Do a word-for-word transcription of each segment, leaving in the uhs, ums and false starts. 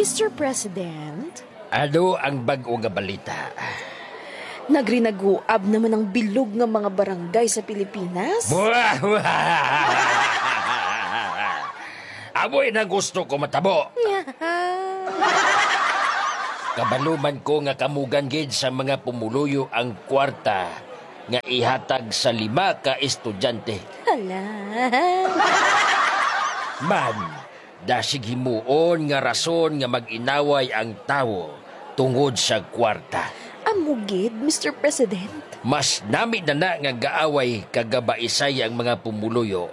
Mister President? Ano ang bag-o nga balita? Nagrinaguab naman ang bilog nga mga barangay sa Pilipinas? Amoy na gusto ko matabo. Kabalo man ko nga kamugan gid sa mga pumuluyo ang kwarta nga ihatag sa lima ka estudyante. Hala. Man, dasig himuon nga rason nga mag-inaway ang tawo tungod sa kwarta. Amo gid, Mister President. Mas nami na na nga gaaway kag gabaisay ang mga pumuluyo,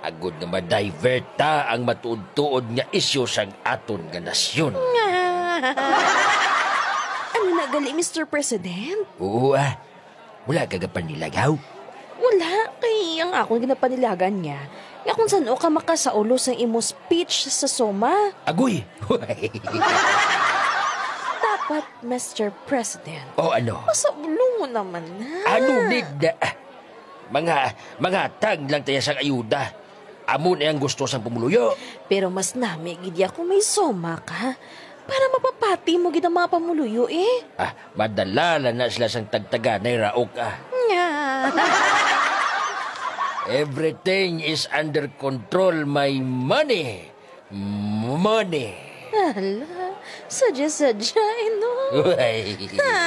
agod nga ma-divert ta ang matuod-tuod nga isyu sang aton nga nasyon. Ano na gali, Mister President? Oo, ah. Wala ka gapanilagaw? Wala, kay ang akon ginapanilagan niya nga kung san-o ka makasaulo sang imo speech sa SOMA. Agoy! Dapat, Mister President, O ano? Masaulo mo naman na. Ano need na? Mga, mga tag lang tayo sang ayuda. Amo na ang gusto sang pumuluyo. Pero mas nami gid ya kung may SOMA ka. Para mapapati mo gid ang mga pamuluyo, eh. Ah, madala lang na sila sang tagtaganay raok, ah. Nga. Everything is under control, my money. Money. Hala, sadya-sadya, eh, no? Uy. Ha?